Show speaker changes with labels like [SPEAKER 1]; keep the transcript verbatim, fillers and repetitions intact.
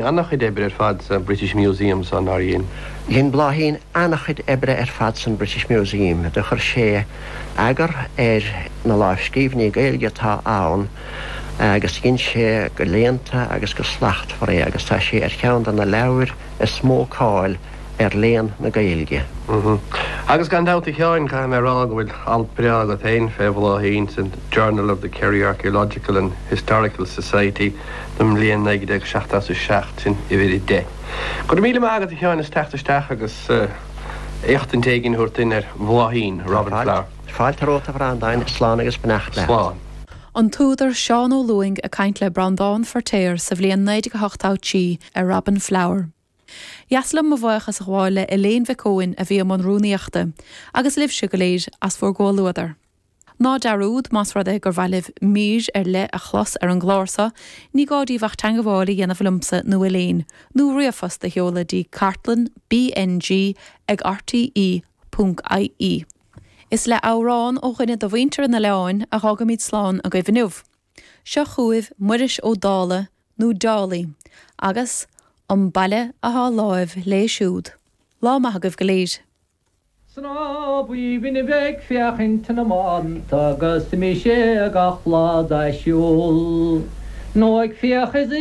[SPEAKER 1] An-chuid oibre ar fad sa British Museum san nár dhein.
[SPEAKER 2] Dhein Bláithín an-chuid oibre ar fad san British Museum, do chuir sé eagar ar na lámhscríbhinní Gaeilge atá ann agus dhein sé go léannta agus go slachtmhar é agus tá sé ar cheann de na leabhair is mó cáil ar léann na Gaeilge.
[SPEAKER 1] Agus gan dabht a Sheáin caithfidh mé a rá go bhfuil alt breá agat féin fé Bhláithín san Journal of the Kerry Archaeological and Historical Society don mbliain naoi déag seachtó a seacht sin uimhir a deich. Go raibh míle maith agat a Sheáin as teacht isteach agus éachtaint éigin a thabhairt dúinn ar Bhláithín, Robin Flower.
[SPEAKER 2] Fáilte romhat a Bhreandáin, slán agus beannacht leat.
[SPEAKER 1] Slán.
[SPEAKER 3] An t-údar Seán Ó Lúing ag caint le Breandán Feirtéar sa bhliain naoi déag a hocht a trí ar Robin Flower. Dheas liom mo bhuíochas a ghabháil le Elaine Mhic Eoin a bhí i mbun rúnaíochta, agus libhse go léir as bhur gcomhluadar. Ná dearúd más rud é gur mhaith libh mír ar leith a chlos ar an gclár seo, ní gá daoibh ach teagmháil a dhéanamh liomsa nó Elaine, nó ríomhphost a sheoladh dtí cartlann BNG ag RTE ponc IE. Is le amhrán ó dhuine de mhuintir an oileáin a fhágaimid slán agaibh inniu. Seo chugaibh Muiris Ó Dálaigh nó Dálaigh agus An Baile athá láimh léi siúd. Lá maith agaibh go léir.
[SPEAKER 4] 'S ná b'aoibhinn a bheith ag féachaint na mbánta agus d'imigh sé gach lá dá siúl nó ag féach is ag